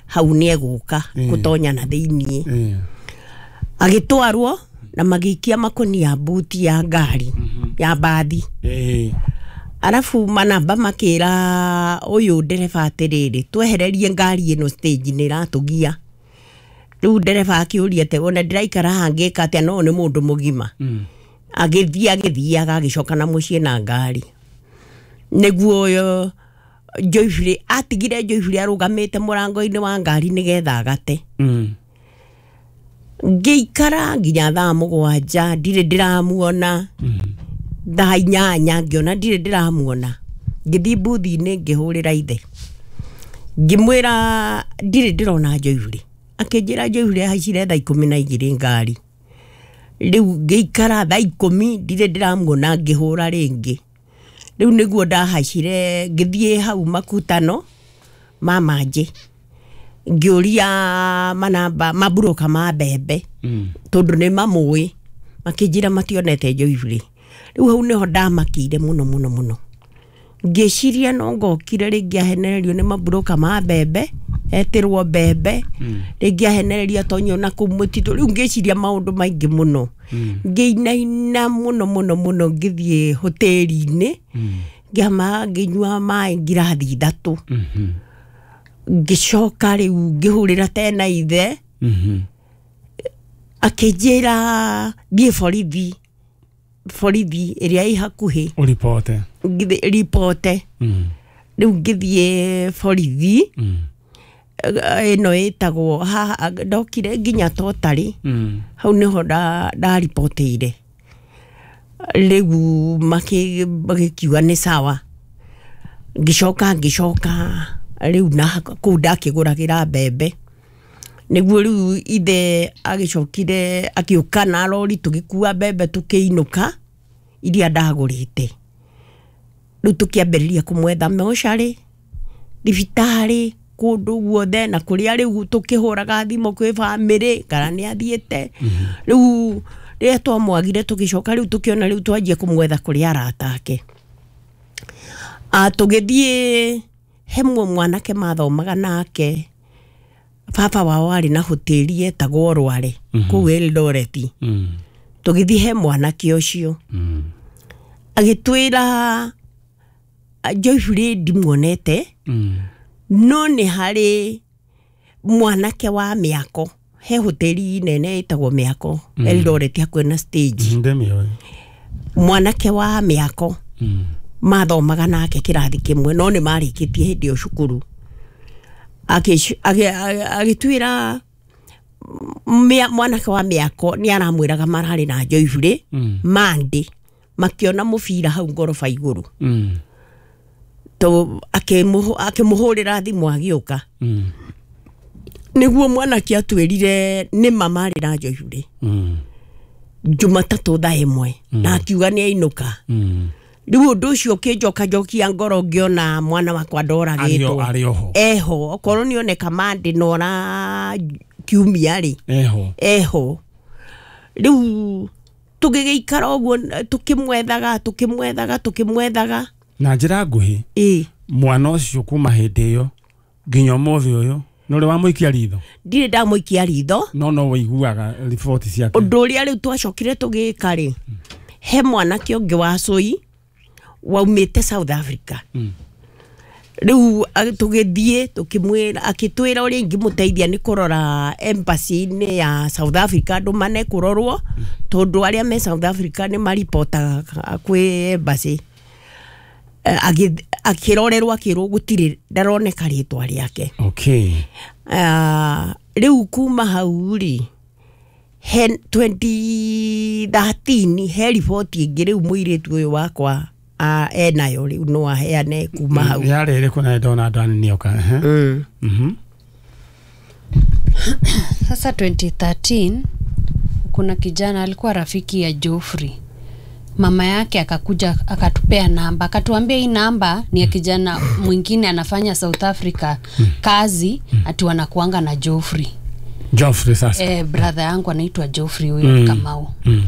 S4: hau nĩ egũka gũtonya na thĩiniĩ. Agĩtwarwo na magĩikia makonia buti ya ngari ya mbathi. Arafu manamba makĩra ũyũ ndereba atĩrĩrĩ twehererie ngari ĩno stage nĩ ĩratũgia. Rĩu ndereba akĩũria atĩ ona ndĩraikara haha ngĩka atĩa no nĩ mũndũ mũgima. Agĩthiĩ agĩthiaga agĩcoka na mũciĩ na ngari. Nĩguo Joyfrey atigire Joyfrey arũgamĩte mũrango-inĩ wa ngari nĩgetha agate. Ngĩikara nginya thaa mũgwanja ndirĩ ndĩramuona. Thaa inyanya ngĩona ndirĩ ndĩramuona. Ngĩthiĩ mbuthi-inĩ ngĩhũrĩra ithe. Ngĩmwĩra ndirĩ ndĩrona Joyfrey. Akĩnjĩra Joyfrey ahaicire thaa ikũmi na igĩrĩ ngari. Rĩu ngĩikara thaa ikũmi ndirĩ ndĩramuona ngĩhũra rĩngĩ. Rĩu nĩguo ndahaicire ngĩthiĩ hau makutano ma manjĩ. Ngĩũria manamba maburoka ma mbembe tondũ nĩ mamũĩ makĩnjĩra mationete Joyfrey. Rĩu hau nĩho ndamakĩire mũno mũno mũno. Ngĩciria no ngokire rĩngĩ ahenererio nĩ maburoka ma mbembe etĩrwo mbembe rĩngĩ ahenererio atonyio na kũu mũtitũ. Rĩu ngĩciria maũndũ maingĩ mũno. Ngĩinaina mũno mũno mũno ngĩthiĩ hoteli-inĩ ngĩama ngĩnyua maĩ ngirathi ithatũ. Ngĩcoka rĩu ngĩhũrĩra tena ithe akĩnjĩra thiĩ borithi borithi ĩrĩa ĩ hakuhĩ
S2: ũripote
S4: ripote. Rĩu ngĩthiĩ borithi ĩno ĩtagwo haha ndokire nginya totari
S2: Mm.
S4: hau nĩho nda- ndaribotĩire rĩu makĩ- magĩkiuga nĩ sawa ngĩcoka ngĩcoka rĩu na kũu ndakĩgũragĩra mbembe nĩguo rĩu ithe agĩcokire akĩũka na rori tũgĩkua mbembe tũkĩinũka iria ndagũrĩte rĩu tũkĩambĩrĩria kũmwetha mocarĩ thibitarĩ kũndũ guothe na kũrĩa rĩu tũkĩhũraga thimũ kwĩ bamĩrĩ kana nĩ athiĩte rĩu rĩrĩa twamwagire tũgĩcoka rĩu tũkĩona rĩu twanjie kũmwetha kũrĩ arata ake Ah, tũgĩthiĩ he mwe mwanake mathomaga nake baba wao arĩ na hoteli etagwo Rware kũu Eldoret
S2: Mm.
S4: tũgĩthiĩ he mwanake ũcio
S2: Mm.
S4: agĩtwĩra "Ah, Joyfrey ndimuonete
S2: Mm.
S4: no nĩ harĩ mwanake wa mĩako he hoteli nene ĩtagwo mĩako mm. Eldoret hakuhĩ na stage
S2: Ndĩmĩũĩ.
S4: mwanake wa mĩako
S2: Mm.
S4: mathomaga nake kĩrathi kĩmwe no nĩ marĩkĩtie hĩndĩ ĩyo cukuru Agĩc- agĩ- agĩ- agĩtwĩra mĩa- mwanake wa mĩako nĩ aramwĩraga mararĩ na Joyfrey
S2: Mm.
S4: Monday makĩona mũbira hau ngoroba igũrũ
S2: Mm.
S4: to akĩmũhũ- akĩmũhũrĩra thimũ agĩũka
S2: Mm.
S4: nĩguo mwanake atwĩrire nĩ ma marĩ na Joyfrey
S2: Mm.
S4: Jumatatũ thaa ĩmwe na akiuga nĩ ainũka
S2: Mm.
S4: rĩu ũndũ ũcio ũkĩnjokanjokia ngoro ngĩona mwana wakwa
S2: Arĩ
S4: ndoragĩtwo
S2: o- arĩ oho.
S4: eho okorwo nĩ oneka Monday na ora kiumia rĩ
S2: Eho.
S4: eho rĩu tũgĩgĩikara ũguo tũkĩmwethaga tũkĩmwethaga tũkĩmwethaga
S2: Na njĩra nguhĩ
S4: ĩ
S2: mwana ũcio kuma hĩndĩ ĩyo nginya ũmũthĩ ũyũ nĩ ũrĩ wamũikia ritho
S4: ndirĩ ndamũikia ritho
S2: no no wĩiguaga riboti ciake
S4: ũndũ ũrĩa rĩu twacokire tũgĩka rĩ he mwanake ũngĩ wa cũi waumĩte South Africa
S2: Mm.
S4: rĩu a- tũgĩthiĩ tũkĩmwĩra akĩtwĩra ũrĩa ingĩmũteithia nĩ kũrora embassy-inĩ ya South Africa andũ mane kũrorwo tondũ arĩa me South Africa nĩ maripotaga kwĩ embassy Eh, agĩ- akĩrorerwo akĩrwo gũtirĩ ndaroneka rĩtwa rĩake
S2: okay
S4: Ah, rĩu kuma hau rĩ he twenty thirteen he riboti ĩngĩ rĩu mũirĩtu ũyũ wakwa ah, enayo rĩu no aheane kuma hau
S2: yarĩ ĩrĩkũ na ndona ndani nĩoka ehe.
S4: Mm.
S2: Mhm.
S6: Sasa twenty thirteen kuna kijana alikuwa rafiki ya Joffrey. Mama yake akakuja akatupea namba, akatuambia hii namba ni ya kijana mwingine anafanya South Africa kazi, ati wanakuanga na Joffrey.
S2: Joffrey sasa
S6: Eh, brother yangu anaitwa Joffrey huyo
S2: Mm.
S6: Kamau.
S2: Mm.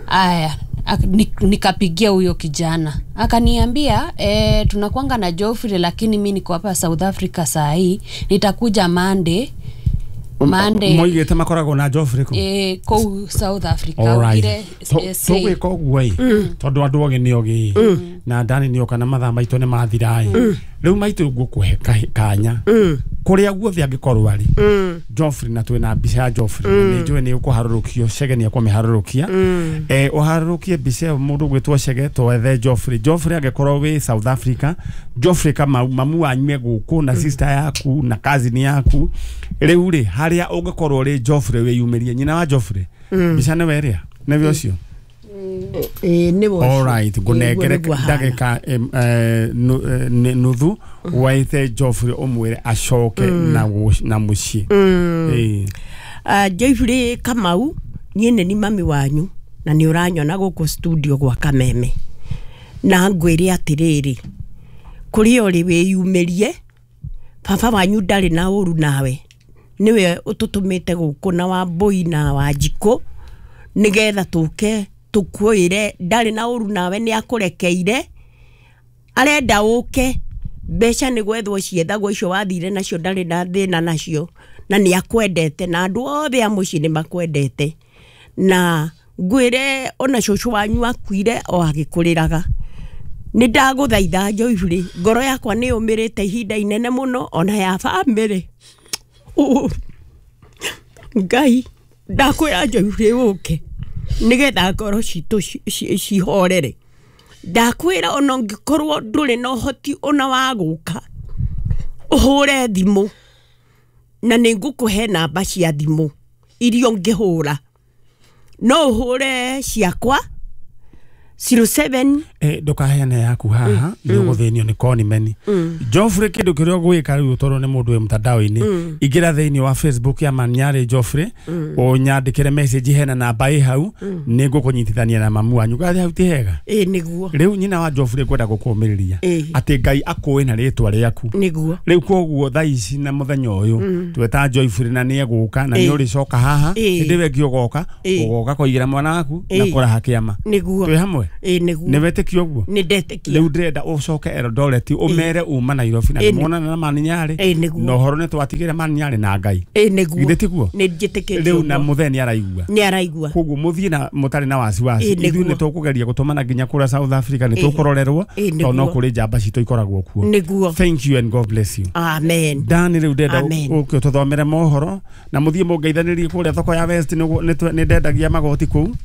S6: Aya, ak- ni- nikapigia huyo kijana akaniambia e, tunakuanga na Joffrey lakini mi niko hapa South Africa saa hii nitakuja Monday Monday
S2: moigĩte makoragwo na Joffrey kũ
S6: e, kũu South Africa
S2: Alright.
S6: Augire,
S2: Tũ-
S6: eh, say.
S2: tũgwĩka ũguo ĩ tondũ andũ ogĩ nĩ ogĩ ĩ na ndani nĩ oka na mathaa maitũ nĩ mathira ĩ rĩu maitũ ngũkũhe kahi- kanya kũrĩa guothe angĩkorwo arĩ Joffrey na twĩna mbica ya Joffrey na nĩ njũĩ nĩ ũkũharũrũkio Chege nĩ ekũmĩharũrũkia eh ũharũrũkie mbica ĩyo mũndũ ũgwĩtwo Chege twethe Joffrey Joffrey angĩkorwo wĩ South Africa Joffrey Kamau mamu wanyu e gũkũ na sister yaku na cousin yaku rĩu rĩ harĩa ũngĩkorwo rĩ Joffrey wĩyumĩrie nyina wa Joffrey mbica nĩwe ĩrĩa nĩwe ũcio
S4: Ĩĩ, nĩwe ũcio.
S2: Alright,
S4: Ĩĩ,
S2: ngũnengere
S4: ũguo nĩguo ahana.
S2: ndagĩka em, eh, nu- eh, nĩ- nuthu waite Joffrey ũmwĩre acoke na gũ- na mũciĩ Ĩĩ.
S4: Ah, Joyfrey Kamau niĩ nĩ ni mami wanyu na nĩ ũranyona gũkũ studio gwa Kameme na ngwĩre atĩrĩrĩ kũrĩa ũrĩ wĩyumĩrie baba wanyu ndarĩ na ũru nawe nĩwe ũtũtũmĩte gũkũ na Wambũi na Wanjikũ nĩgetha tũke tũkwĩre ndarĩ na ũru nawe nĩ akũrekeire arenda ũke mbeca nĩ gwethwo ciethagwo icio wathire nacio ndarĩ na thĩna nacio na nĩ akwendete na andũ othe a mũciĩ nĩ makwendete na ngwĩre ona cũcũ wanyu akuire o agĩkũrĩraga nĩ ndagũthaitha Joyfrey ngoro yakwa nĩ yũmĩrĩte ihinda inene mũno ona ya bamĩrĩ Ũ- Ngai ndakwĩra Joyfrey ũke nĩgetha ngoro citũ ci- ci- cihorere ndakwĩra ona ũngĩkorwo ndũrĩ na ũhoti ona wa gũka ũhũre thimũ Na nĩ ngũkũhe namba cia thimũ iria ũngĩhũra. No ũhũre ciakwa zero seven
S2: eh ndukaheane yaku haha ni uguthinio ni konimeni. Geoffrey kindu kiria ugwika riu toro ni mundu wi mtandao-ini ingira thiini wa Facebook ya Maniari Geoffrey unyandikire message hena namba i hau ni ngukunyitithania na mamu wanyu gathi hau ti hega.
S4: Ĩ niguo
S2: riu nyina wa Geoffrey kwenda gukumiriria ati Ngai akui na ritwa riaku
S4: niguo
S2: riu koguo thaa ici na muthenya uyu tweta Geoffrey na ni eguka na ni uricoka haha hindi we ngi ugoka ugoka kuigira mwana waku na kuraha kiama
S4: niguo
S2: twi hamwe.
S4: Ĩ niguo
S2: nĩ wetĩkia ũguo
S4: nĩ ndetĩkia
S2: rĩu ndĩrenda ũcoke Eldoret ũmere uma Nairobi na nĩmuonana na Maniari na ũhoro nĩ twatigire Maniari na Ngai.
S4: Ĩ niguo
S2: githĩ tiguo
S4: nĩ njĩtĩkĩtie
S2: rĩu na mũthee nĩ araigua
S4: nĩ araigua
S2: koguo mũthiĩ na mũtarĩ na wasiwasi ithuĩ nĩ tũkũgeria gũtũmana nginya kũrĩa South Africa nĩ tũkũrorerwo tondũ no kũrĩ njamba citũ ikoragwo kuo.
S4: Niguo.
S2: Thank you and God bless you.
S4: Amen.
S2: Dan rĩu ndĩrenda ũke ũtũthomere mohoro na mũthiĩ mũngeithanĩrie kũrĩa thoko ya West nĩ ndendagia magoti kũu.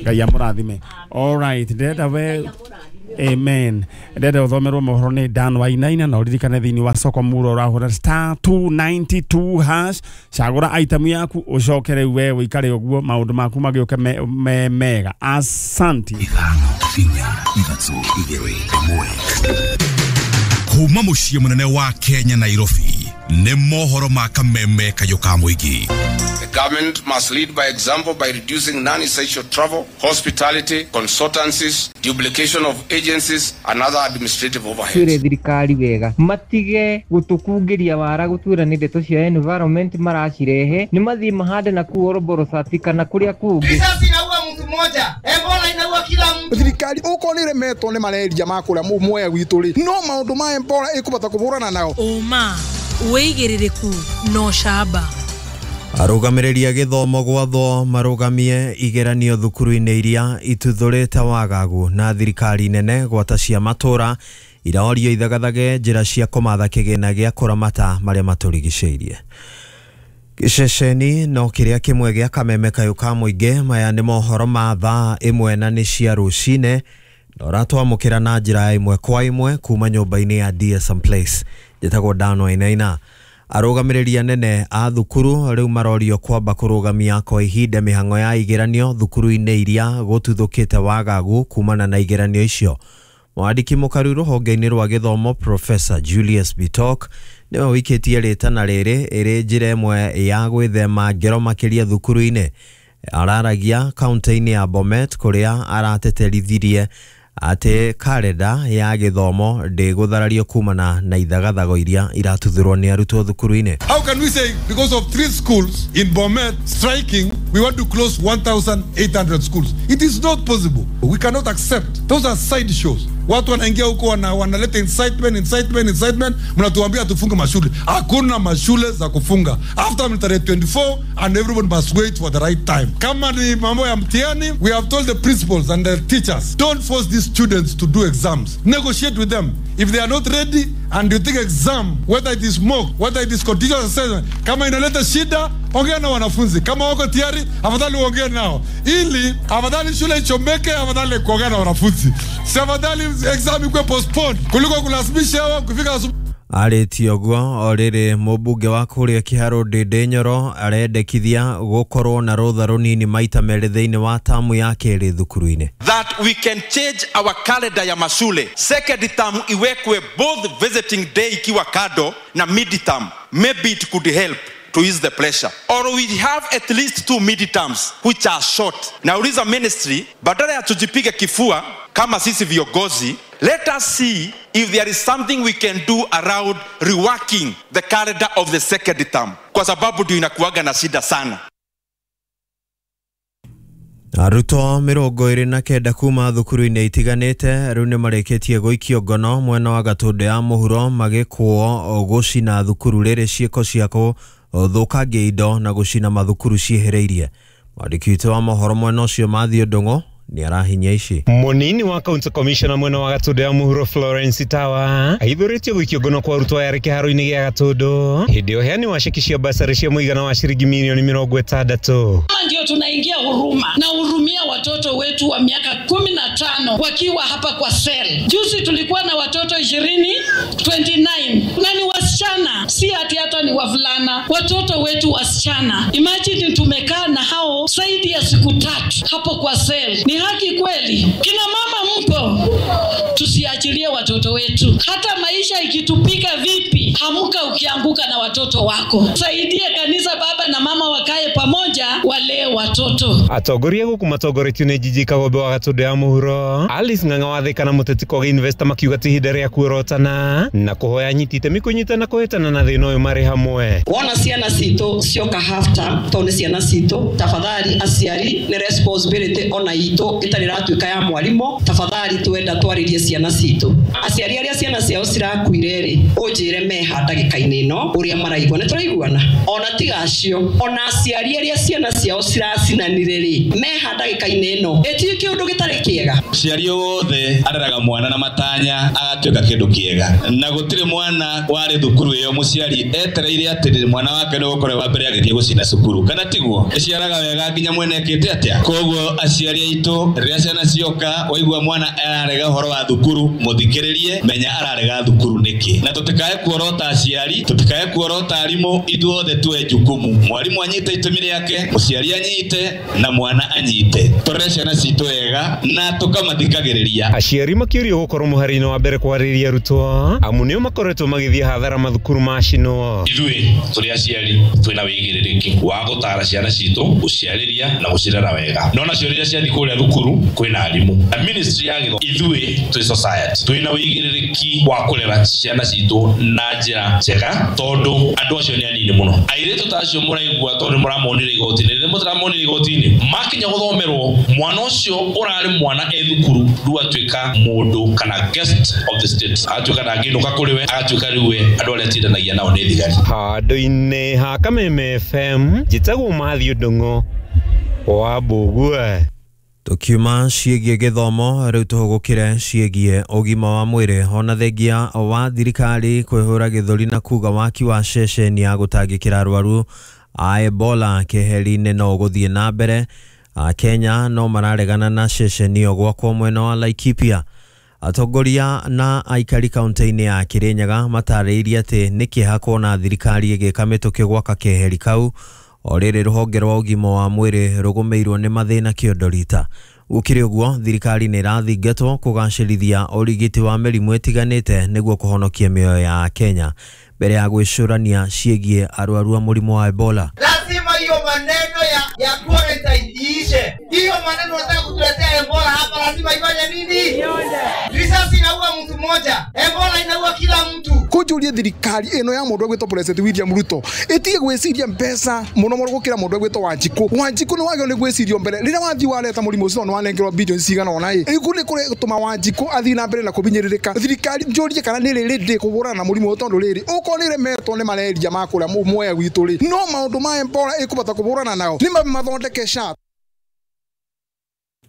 S2: Ngai amũrathime. All right ndĩrenda we amen ndĩrenda ũthomerwo mohoro nĩ Dan Wainaina na ũririkane thĩinĩ wa soko muro ũrahũra star two nine two hash cagũra item yaku ũcoke rĩu we ũikare ũguo maũndũ maku magĩũke me, me, mega. Asante.
S7: Ithano inya ithatũ igĩrĩ ĩmwe kuma mũciĩ mũnene wa Kenya Nairobi nĩ mohoro ma kameme kayũ ka mũingĩ.
S8: The government must lead by example by reducing non-essential travel, hospitality, consultancies, duplication of agencies and other administrative overheads.
S9: Twire thirikari wega matige gutukungiria wara gutwira ni ndeto cia environment maracirehe ni mathie mahande na kuo Oroboro kana kuria kungi.
S10: Risasi inaua mtu mmoja, Ebola inaua kila mtu.
S11: Thirikari uko ni remetwo ni mareria makura muoya gwitu ri no maundu ma Ebola ikubata kuburana nao
S12: uma wigiririku no shaba.
S13: Arũgamĩrĩri gĩthomo gwathwo marũgamie igeranio thukuru-inĩ iria ituthũrĩte wagagu na thirikari nene gwata cia matũra iraorio ithagathage njĩra cia kũmatha kĩgĩna gĩa kũramata marĩa matũrigicĩirie. Gĩceceni no kĩrĩa kĩmwe gĩa kameme kayũ ka mũingĩ maya nĩ mohoro ma thaa ĩmwe na nĩ cia rũcinĩ na ũratwamũkĩra na njĩra ya ĩmwe kwa ĩmwe kuma nyũmba-inĩ ya D S M Place. Njĩtagwo Dan Wainaina. Arũgamĩrĩri anene a thukuru rĩu marorio kwamba kũrũgamia kwa ihinda mĩhang'o ya igeranio thukuru-inĩ iria gũtuthũkĩte wagagu kumana na igeranio icio. Mwandĩki mũkaru rũhonge-inĩ rwa gĩthomo Professor Julius Bitok nĩwe ũikĩtie rĩtana rĩrĩ ĩrĩ njĩra ĩmwe ya gwĩthema ngero makĩria thukuru-inĩ. Araragia kaunti-inĩ ya Bomet kũrĩa arateterithirie atĩ karenda ya gĩthomo ndĩgũtharario kumana na ithagathago iria iratuthũrwo nĩ arutwo thukuru-inĩ.
S14: How can we say because of three schools in Bomet striking we want to close one thousand eight hundred schools? It is not possible. We cannot accept. Those are side shows. Watu wanaingia huko wana wanaleta incitement incitement incitement, mnatuambia tufunge mashule. Hakuna mashule za kufunga. After tarehe twenty-four and everyone must wait for the right time. Kama ni mambo ya mtihani, we have told the principals and the teachers, don't force these students to do exams. Negotiate with them. If they are not ready and you think exam, whether it is mock, whether it is continuous assessment, kama inaleta shida, ongea na wanafunzi. Kama wako tayari, afadhali uongee nao. Ili afadhali shule ichomeke, afadhali kuongea na wanafunzi. Si afadhali exam ikuwe postponed kuliko kulazimisha wao kufika asubuhi.
S13: Arĩtie ũguo o rĩrĩ mũmbunge wa kũrĩa Kĩharũ Ndĩndĩ Nyoro arendekithia gũkorwo na rũtha rũnini maita merĩ thĩinĩ wa tamu ya kerĩ thukuru-inĩ.
S15: That we can change our calendar ya mashule. Second term iwekwe both visiting day ikiwa kado na mid term. Maybe it could help to ease the pressure. Or we have at least two mid-terms which are short. Nauliza ministry, badala ya tujipiga kifua kama sisi viongozi, let us see if there is something we can do around reworking the calendar of the second term. Kwa sababu ndio inakuwaga na shida sana.
S13: Arutwo mĩrongo ĩrĩ na kenda kuma thukuru-inĩ itiganĩte rĩu nĩmarĩkĩtie gũikio ngono mwena wa Gatũndũ ya mũhuro magĩkũo gũcina thukuru rĩrĩ ciĩko cia gũthũkangia indo na gũcina mathukuru ciĩhĩrĩirie. Mwandĩki witũ wa mohoro mwena ũcio Matthew Ndung'u ni arahinya ici.
S16: Munini wa county commissioner mwena wa Gatũndũ ya mũhuro Florence Tawa aithũrĩtio gũikio ngono kwa arutwo aya kĩharo-inĩ gĩa Gatũndũ hĩndĩ ũheani wa ceki cia basarĩ cia mũigana wa ciringi milioni mĩrongo ĩtandatũ.
S17: Ndio tunaingia huruma na hurumia watoto wetu wa miaka kumi na tano wakiwa hapa kwa cell. Juzi tulikuwa na watoto ishirini, twenty-nine na ni wasichana Wasichana, si ati hata ni wavulana, watoto wetu wasichana. Imagine tumekaa na hao zaidi ya siku tatu hapo kwa sel. Ni haki kweli? Kina mama mpo? Tusiachilie watoto wetu. Hata maisha ikitupika vipi, hamuka ukianguka na watoto wako. Saidie kanisa, baba na mama wakae pamoja, walee watoto.
S16: Atongoria guku matongoretio nĩ Njiji Kagombe wa Gatũndũ ya Mũhuro, Alice Ng'ang'a wa Thika na Mũteti Kogi Investor makiuga ti ihinda rĩa kuorotana na kũhoya anyiti itemi kũnyitana kũhĩtana na thĩna ũyũ marĩ hamwe.
S18: Wona ciana citũ cioka half term tondũ nĩ ciana citũ, tafadhali aciari nĩ responsibility ona itũ ĩtarĩ ĩratuĩka ya mwarimũ, tafadhali twenda twarĩrie ciana citũ. Aciari arĩa ciana ciao cirakuire rĩ, ũnjĩre meha ndagĩka-inĩ ĩno ũrĩa maraigua, nĩ tũraiguana? Ona tiga acio, ona aciari arĩa ciana ciao ciracinanire rĩ, meha ndagĩka-inĩ ĩno, ĩtirĩ kĩũndũ gĩtarĩ kĩega.
S19: Mũciari wothe areraga mwana na matanya agatuĩka kĩndũ kĩega, na gũtirĩ mwana warĩ thukuru ĩyo mũciari etereire atĩ mwana wake nĩ gũkorwo wa mbere agĩthiĩ gũcina cukuru, kana tiguo? Ĩciaraga wega nginya mwene ekĩte atĩa? Koguo aciari aitũ rĩrĩa ciana cioka waigua mwana ararega ũhoro wa thukuru, mũthikĩrĩrie, menya ararega thukuru nĩkĩ, na tũtikae kuorota aciari, tũtikae kuorota arimũ, ithuothe tuoe jukumu. Mwarimũ anyite itemi rĩake, mũciari anyite na mwana anyite, tũrere ciana citũ wega na tũkamathikagĩrĩria.
S16: Aciari makĩũrio gũkorwo mũhari-inĩ wa mbere kwarĩria arutwo amu nĩo makoretwo magĩthiĩ hathara mathukuru macinwo.
S19: Ithuĩ tũrĩ aciari twĩna wĩigĩrĩrĩki wa gũtara ciana citũ, gũciarĩria na gũcirera wega, no nacio rĩrĩa ciathiĩ kũrĩa thukuru kwĩna arimũ na ministry ya gĩthomo. Ithuĩ twĩ society twĩna wĩigĩrĩrĩki wa kũrera ciana citũ na njĩra njega, tondũ andũ acio nĩ anini mũno. Airĩtu ta acio mũraigua tondũ nĩmũramonire igoti-inĩ, rĩrĩa mũtiramonire igoti-inĩ makinya gũthomerwo, mwana ũcio ũrarĩ mwana e thukuru rĩu atuĩka mũndũ kana guest of the state, atuĩka ndangĩinũka kũrĩ we, agatuĩka rĩu we andũ arĩa atindanagia nao nĩ thigari.
S16: Handũ-inĩ ha Kameme F M, njĩtagwo Matthew Ndung'u wa Mbũgue.
S13: Tukiuma ciĩgiĩ gĩthomo rĩu tũhũgũkĩre ciĩgiĩ ũgima wa mwĩrĩ. Ona thengia wa thirikari kwĩhũra gĩthũri na kuga waki wa ceceni ya gũtangĩkĩra arwaru a Ebola keheri-inĩ no ũgũthiĩ na mbere, Kenya no mararegana na ceceni ĩyo gwakwo mwena wa Laikipia. Atongoria na aikari kaunti-inĩ ya Kirinyaga matarĩirie atĩ nĩ kĩeha kuona thirikari ĩgĩka mĩtũkĩ gwaka keheri kau, o rĩrĩ rũhonge rwa ũgima wa mwĩrĩ rũgũmĩirwo nĩ mathĩna kĩondo rita. Gũkĩrĩ ũguo, thirikari nĩ ĩrathingatwo kũgacĩrithia ũrigiti wa mĩrimũ ĩtiganĩte nĩguo kũhonokia mĩoyo ya Kenya mbere ya gwĩcũrania ciĩgiĩ arwaru a mũrimũ wa Ebola.
S10: Lazima hiyo maneno ya, ya quarantine iishe. Hiyo maneno unataka kutuletea Ebola hapa, lazima ifanye nini? Risasi inaua mtu mmoja, Ebola inaua kila mtu.
S11: Kũnjũrie thirikari ĩno ya mũndũ ũgwĩtwo President William Ruto ĩtige gwĩciria mbeca mũno mũno gũkĩra mũndũ ũgwĩtwo Wanjikũ. Wanjikũ nĩ wagĩrĩirwo nĩ gwĩcirio mbere rĩrĩa wathiĩ wareta mũrimũ ũcio nĩ wanengerwo bilioni cigana ũna ĩ ĩku nĩ kũrĩ Wanjikũ athiĩ na mbere na kũbinyĩrĩrĩka. Thirikari njũrie kana nĩ rĩ rĩndĩ kũhũrana na mũrimũ ũyũ, tondũ rĩrĩ ũkorwo nĩ ĩremetwo nĩ malaria ma kũrĩa Mwea gwitũ rĩ, no maũndũ ma Ebola ĩkũbata kũhũrana nao nĩ mathondeke S H A.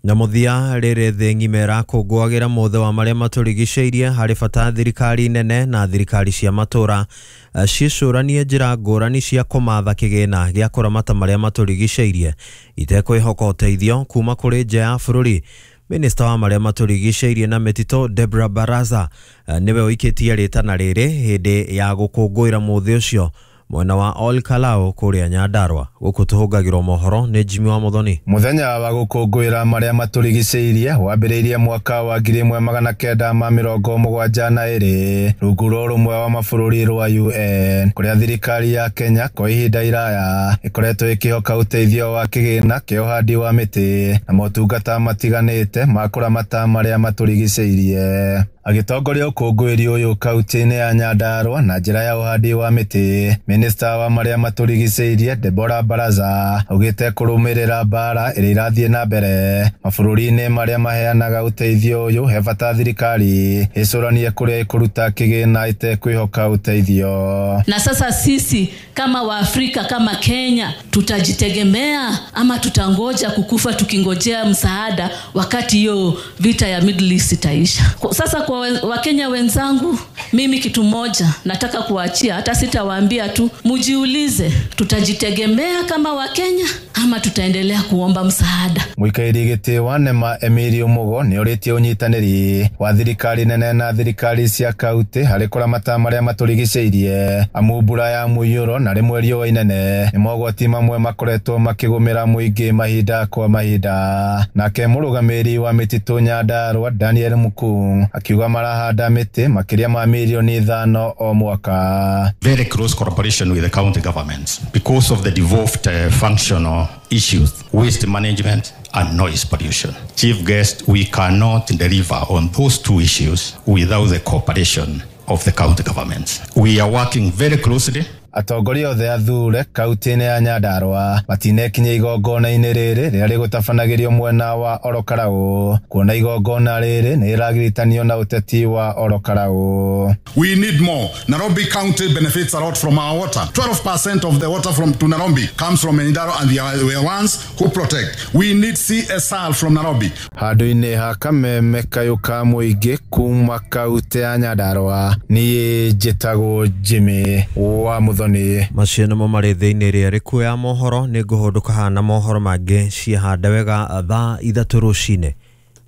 S13: Na mũthia rĩrĩ thĩ ng'ima ĩrakũngũagĩra mũthĩ wa marĩa matũrigicĩirie, harĩ bata thirikari nene na thirikari cia matũra ciĩcũranie njĩra ngũrani cia kũmatha kĩgĩna gĩa kũramata marĩa matũrigicĩirie itekwĩhoka ũteithio kuma kũrĩ nja ya bũrũri. Minista wa marĩa matũrigicĩirie na mĩtitũ Deborah Baraza nĩwe ũikĩtie rĩtana rĩrĩ hĩndĩ ya gũkũngũĩra mũthĩ ũcio mwena wa Ol Kalou kũrĩa Nyandarua. Gũkũ tũhũngagĩrwo mohoro nĩ Jimmy wa Muthoni.
S20: Mũthenya wa gũkũngũĩra marĩa matũrigicĩirie wambĩrĩirie mwaka wa ngiri ĩmwe magana kenda ma mĩrongo mũgwanja na ĩrĩ rungu rwa ũrũmwe wa mabũrũri rwa U N, kũrĩa thirikari ya Kenya kwa ihinda iraya ĩkoretwo ĩkĩhoka ũteithio wa kĩgĩna kĩa ũhandi wa mĩtĩ na motungata matiganĩte ma kũramata marĩa matũrigicĩirie. Agĩtongoria ũkũngũĩri ũyũ kaunti-inĩ ya Nyandarua na njĩra ya ũhandi wa mĩtĩ, minista wa marĩa matũrigicĩirie Deborah Baraza augĩte kũrũmĩrĩra mbara ĩrĩa ĩrathiĩ na mbere mabũrũri-inĩ marĩa maheanaga ũteithio ũyũ, he bata thirikari ĩcũranie kũrĩa ĩkũruta kĩgĩna ĩtekwĩhoka ũteithio.
S17: Na sasa sisi kama Waafrika, kama Kenya, tutajitegemea ama tutangoja kukufa tukingojea msaada wakati hiyo vita ya Middle East itaisha? Sasa kwa Wakenya wenzangu, mimi kitu moja nataka kuachia, hata sitawaambia tu, mujiulize, tutajitegemea kama Wakenya ama tutaendelea kuomba msaada?
S20: Mũikarĩri gĩtĩ wa NEMA Emilio Mugo nĩ orĩtie ũnyitanĩri wa thirikari nene na thirikari cia kaunti harĩ kũramata marĩa matũrigicĩirie, amu mbura ya mũiyũro na rĩmwe riũa inene nĩ mogwati mamwe makoretwo makĩgũmĩra mũingĩ mahinda kwa mahinda. Nake mũrũgamĩrĩri wa mĩtitũ Nyandarua Daniel Mukung akiuga marahanda mĩtĩ makĩria ma mirioni ithano o mwaka.
S21: Very close cooperation with the county governments because of the devolved uh, functional issues, waste management and noise pollution. Chief guest, we cannot deliver on those two issues without the cooperation of the county governments. We are working very closely.
S20: Atongoria othe athure kaunti-inĩ ya Nyandarua matinekinyia igongona-inĩ rĩrĩ rĩrĩa rĩgũtabanagĩrio mwena wa Orokarau, kuona igongona rĩrĩ nĩ rĩragiritanio na ũteti wa Orokarau.
S22: We need more. Nairobi County benefits a lot from our water. twelve percent of the water from to Nairobi comes from Nyandarua, and they are the ones who protect. We need C S R from Nairobi.
S20: Handũ-inĩ ha kameme kayũ ka mũingĩ kuma kaunti ya Nyandarua, niĩ njĩtagwo Jimmy wa Muthoni.
S13: Macio nĩmo marĩ thĩinĩ ĩrĩa ĩrĩkuo ya mohoro. Nĩ ngũhũndũka haha na mohoro mangĩ ciahanda wega thaa ithatũ rũcinĩ.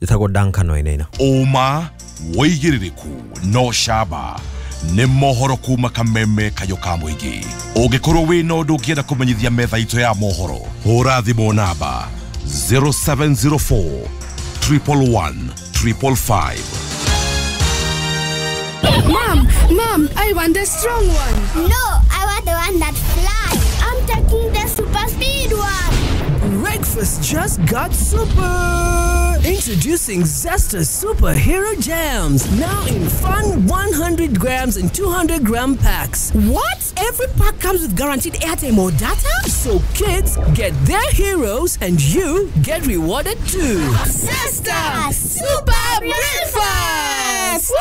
S13: Njĩtagwo Duncan Wainaina.
S7: Ũma wĩigĩrĩrĩku no camba nĩ mohoro kuma kameme kayũ ka mũingĩ. Ũngĩkorwo wĩna ũndũ ũngĩenda kũmenyithia metha itũ ya mohoro, hũra thimũ namba zero seven zero four triple one triple five.
S23: Mom, Mom, I want the strong one.
S24: No, I want the one that flies. I'm taking the super speed one.
S25: Breakfast just got super. Introducing Zesta Superhero Jams, now in fun one hundred grams and two hundred gram packs.
S26: What? Every pack comes with guaranteed airtime or data?
S25: So kids get their heroes and you get rewarded too.
S23: Zesta Super Breakfast!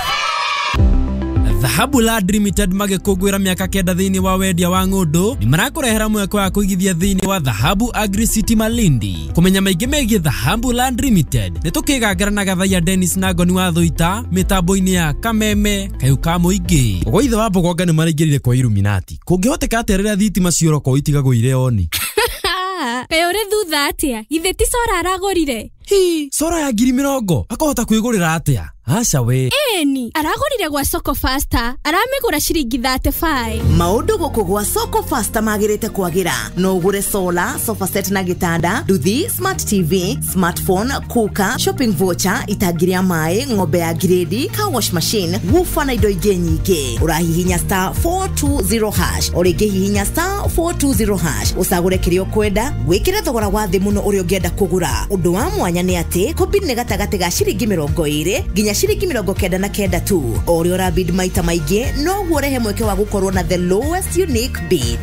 S27: Dhahabu Land Limited magĩkũngũĩra mĩaka kenda thĩinĩ wa wendia wa ng'ũndũ nĩ marakũrehera mweke wa kũigithia thĩinĩ wa Dhahabu Agri City Malindi. Kũmenya maingĩ megiĩ Dhahabu Land Limited nĩ tũkĩgangara na Gathaiya Dennis na Ngoni wa Thũita mĩtambo-inĩ ya Kameme kayũ ka mũingĩ. Ũgũithe wa Mbogonga nĩ maraingĩrire kwa Illuminati. Kũngĩhoteka atĩa rĩrĩa thitima ciorokwo itigagũire oni?
S28: Kaĩ ũrĩ thutha atĩa? Githĩ ti cora aragũrire?
S27: Hi, cora ya ngiri mĩrongo akahota kwĩgũrĩra atĩa? Aca we.
S28: Ĩni, aragũrire gwa Soko Faster, aramĩgũra ciringi thirty-five.
S29: Maũndũ gũkũ gwa Soko Faster magĩrĩte kwagĩra. No ũgũre solar, sofa set na gĩtanda, nduthi, smart T V, smartphone, cooker, shopping voucher, itangi rĩa maĩ, ng'ombe ya grade, car wash machine, woofer na indo ingĩ nyingĩ. Ũrahihinya star four two zero hash, o rĩngĩ hihinya star four two zero hash, ũcagũre kĩrĩa ũkwenda, wĩkĩre thogora wa thĩ mũno ũrĩa ũngĩenda kũgũra. Ũndũ wa mwanya nĩ atĩ kũbid nĩ gatagatĩ ga ciringi mĩrongo ĩrĩ nginya ciringi mĩrongo kenda na kenda tu. O ũrĩa ũrabid maita maingĩ noguo ũrehe mweke wa gũkorwo na the lowest unique bid.